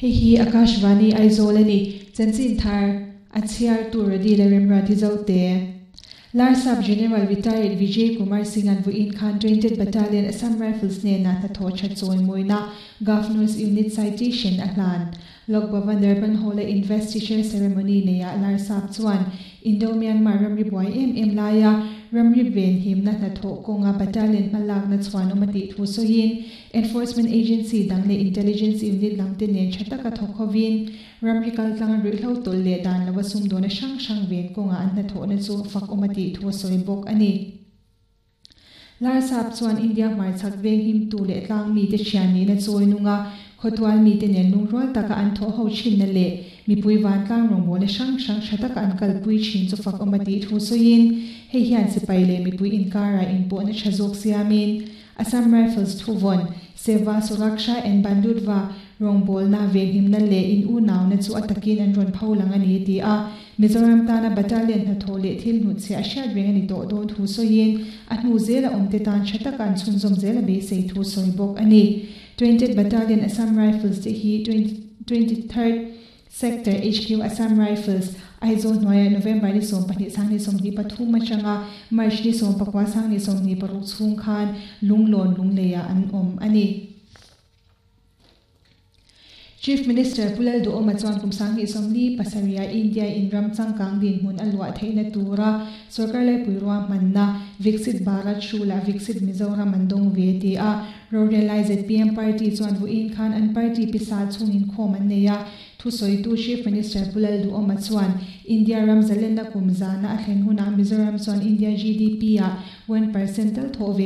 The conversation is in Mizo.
Hei hi Akashvani Aizawl a ni. Chanchin thar a chhiartu Rody leh Remruati Zote. Larsap General Retired Vijay Kumar Singh-a'n vawiin khan 20th Battalion Assam Rifles hnenah hnathawh that chawimawina Governor's Unit Citation a hlan. Lok Bhavan Darban Hall-a Investiture Ceremony neiah Larsap chuan Indo-Myanmar ramri buai em em laia ramri venhimna hnathawh kawnga battalion hmalakna chhuanawm a tih thu sawiin Enforcement Agency dang leh Intelligence Unit lamte nen tha taka thawk hovin ramri kaltlanga ruihhlo tawlh leh dan lova sumdawna hrang hrang ven kawngah an hnathawhna chu fakawm a tih thu a sawi bawk a ni. Larsap chuan India hmarchhak venghimtu leh tlang mite thian nihna chawi nunga khawtual mite nen lungrual taka an thawh ho thinna leh mipui vantlang rawngbawlna hrang hrang tha taka an kalpui thin chu fakawm a tih thu sawiin hei hian sipai leh mipui inkarah inpawhna tha zawk siamin Assam Rifles thuvawn, Seva, Suraksha and Bandhutva rawngbawlna, venhimna leh in unauna chu a takin an rawn pho lang a ni, ti a. Mizoram tana battalion hnathawh leh thil hnutchhiah a hriat reng a ni tawh dawn thu sawiin, a hnu zela awmte tan tha taka an chhunzawm zel a beisei thu sawi bawk a ni. 20th Battalion Assam Rifles te hi 23rd Sector HQ Assam Rifles, Aizawl hnuaiah November ni 12 sangni 23 atanga March ni 19 sangni 26 chhung khan Lunglawn Lungleiah an awm a ni. Chief Minister Pu Lalduhawma chuan kum 2047 ah India in ram changkang dinhmun a luah theihna tura sawrkar laipui ruahmanna Viksit Bharat Hrulah Viksit Mizoram an dawng ve ti a. Rorel lai zpm party chuan vawiin khan an party pisa chhungin khawm an nei a. Thusawitu Chief Minister Pu Lalduhawma chuan India ram zalenna kum zana a thlen hunah Mizoram chuan India GDP-ah 1% tal thawh ve